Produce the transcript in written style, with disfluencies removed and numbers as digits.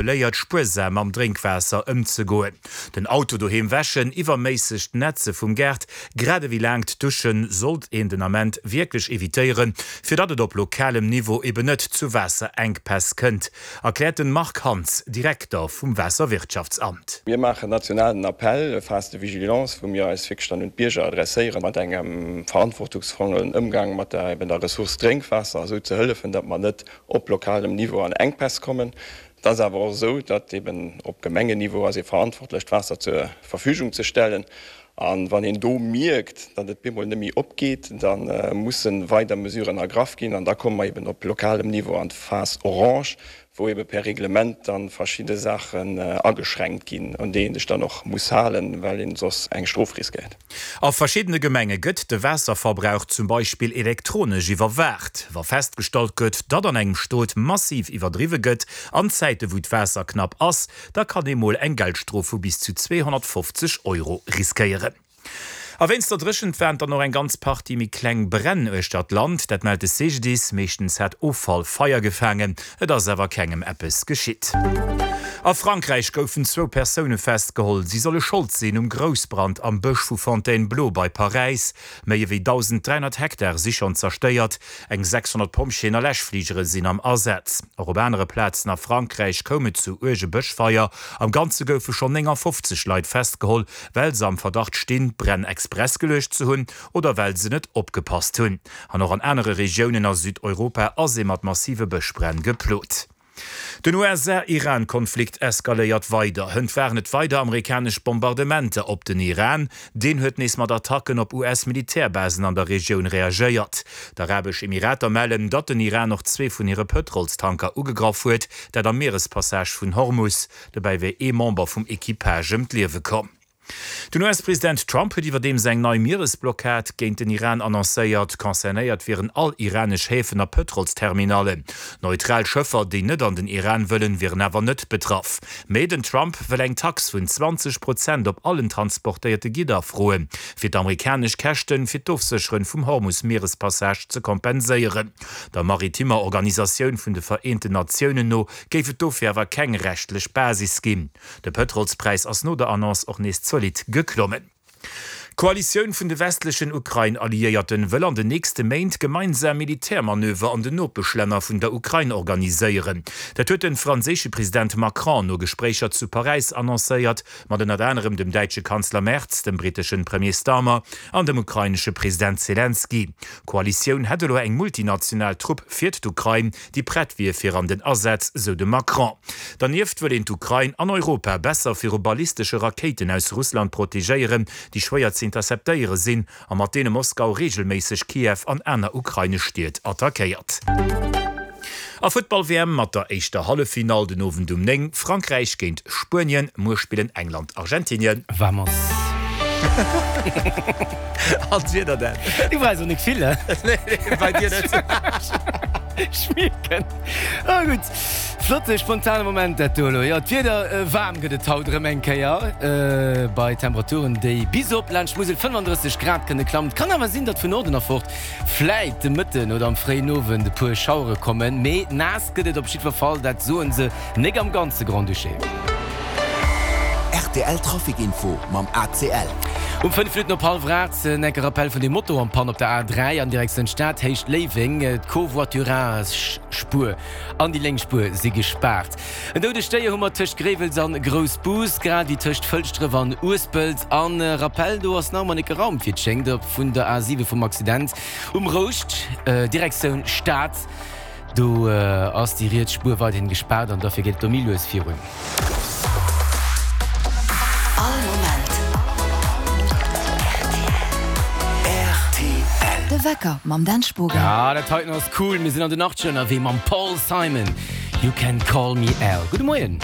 Léiert spuersam mam Drénkwaasser ëmzegoen, den Auto doheem wäschen, iwwerméissegt Nätze vum Gaart, grad ewéi laangt Duschen sollt een den Ament wierklech evitéieren, fir datt et op lokalem Niveau eben net zu Waasserenkpäss kënnt, erkläert den Marc Hans, Direkter vum Waasserwirtschaftsamt. Mir maachen national den Appel, Phase de vigilance, wou mir eis wierklech dann un d'Bierger adresséieren, mat engem verantwortungsvollen Ëmgang mat der eben der Ressource Drénkwaasser, esou ze hëllefen, datt mer net op lokalem Niveau an Enkpäss kommen. Et ass awer och esou, datt eben op Gemengenniveau ass ee verantwortlech, d'Waasser zur Verfügung ze stellen. A wann een do mierkt, datt et bemol net méi opgeet, da musse weider Mesuren ergraff ginn. An da komme mer eben op lokalem Niveau an d'Phase orange, wou ebe per Reglement da verschidde Saachen ageschränkt ginn, un déi ee sech dann och muss halen, well een soss eng Strof riskéiert. A verschiddene Gemenge gëtt de Waasserverbrauch zum Beispill elektronesch iwwerwaacht. Wa festgestallt gëtt, datt an engem Stot massiv iwwerdriwwe gëtt, an Zäite wou d'Waasser knapp ass, da kann ee mol eng Geldstrof vu bis zu 250 Euro riskéieren. A wéinst der Dréchent waren dann och eng ganz Partie méi kleng Bränn uechter d'Land. Dat mellt de CGDIS. Meeschtens hat Offall Feier gefaangen, et ass awer kengem eppes geschitt. A Frankräich goufen zwou Persoune festgeholl. Si solle Schold sinn um Groussbrand am Bësch vu Fontainebleau bei Paräis. Méi ewéi 1.300 Hektar si schonn zerstéiert. Eng 600 Pompjeeën a Läschfligere sinn am Asaz. Och op anere Plazen a Frankräich koum et zu uerge Bëschfeier. Am Ganze goufe schonn 59 Leit festgeholl, well se am Verdacht stinn, d'Bränn express geluecht ze hunn oder well se net opgepasst hunn. An och an anere Regiounen a Südeuropa ass ee mat massive Bëschbränn geplot. Den USA-Iran-Konflikt eskaléiert weider. Hënt waren et weider amerikanesch Bombardementer op den Iran. Deen huet nees mat Attacken op US-Militärbasen an der Regioun reagéiert. D'Arabesch Emirater mellen, datt den Iran och zwee vun hire Pëtrolstanker ugegraff huet, dat am Mierespassage vun Hormus. Dobäi wier ee Member vum Equipage ëm d'Liewe komm. Den US-President Trump huet iwwerdeems eng nei Mieresblockad géint den Iran annoncéiert. Concernéiert wieren all iranesch Häfen a Pëtrolsterminallen. Neutral Schëffer, déi net an den Iran wëllen, wieren awer net betraff. Mee den Trump wëll eng Tax vun 20 Prozent op allen transportéierte Gidder froen, fir d'amerikanesch Käschten fir d'Ofsécheren vum Hormus-Mierespassage ze kompenséieren. Der maritimmer Organisatioun vun de Vereenten Natiounen no géif et dofir awer keng rechtlech Basis ginn. De Pëtrolspräis ass no der Annonce och nees zolidd geklommen. D'Koalitioun vun de westlechen Ukrain-Alliéierten wëll an den nächste Méint gemeinsam Militärmanöver an den Nopeschlänner vun der Ukrain organiséieren. Dat huet de franséische President Macron no Gespréicher zu Paräis annoncéiert, mat ënnert anerem dem däitsche Kanzler Merz, dem britteschen Premier Starmer an dem ukrainesche President Selenskyj. D'Koalitioun hätt elo eng multinational Trupp fir d'Ukrain, déi prett wier fir an den Asaz, sou de Macron. Dernieft wëll een d'Ukrain an Europa besser viru ballistesche Rakéiten aus Russland protegéieren, déi schwéier ze interceptéiere sinn a mat deene Moskau reegelméisseg Kiew an aner ukrainesch Stied attackéiert. A Futtball-WM mat der éischter Halleffinall den Owend um 9, Frankräich géint Spuenien. Muer spillen England Argentinien. Vamos! An d'Wieder dann? Du brauchs och nik vill, he? Nee, bei dir net. Schmierken. Ah gutt, flotte spontane Moment dat do elo. Jo, d'Wieder, waarm gëtt et haut erëm eng Kéier, bei Temperaturen, déi bis op laanscht d'Musel 35 Grad kënne klammen. Et kann awer sinn, datt vun Norden erfort vläit de Mëtten oder am fréien Owend e puer Schauere kommen, mee naass gëtt et op jiddwer Fall, dat soe se nek am ganze Grand-Duché. Rtl Trafic Info mam ACL. Um 5 Minutten op hallwer 8 en enke Rappel vun dem Moto en Panne op der A3 an Direktioun Stad, Héicht Léiweng. D'Covoiturage-Spuer an déi lénk Spuer si gespaart. En doudegt Déier hu mer tëscht Gréiwels an Groussbus, grad ewéi tëscht Fëlschdref an Uespelt. An Rappel, do ass nach ëmmer nik geraumt, wéi et schéngt, op vun der A7 vum Accident um Rouscht, Direktioun Stad. Do ass déi riets Spuer weiderhin gespaart an derfir geet et do méi lues virun. All Moment rtl. De Wecker mam Dan Spogen. Ah, dat heiten ass cool, mir sinn an den Achtzeger ënnerwee mam Paul Simon, You Can Call Me Al. Gudde Moien.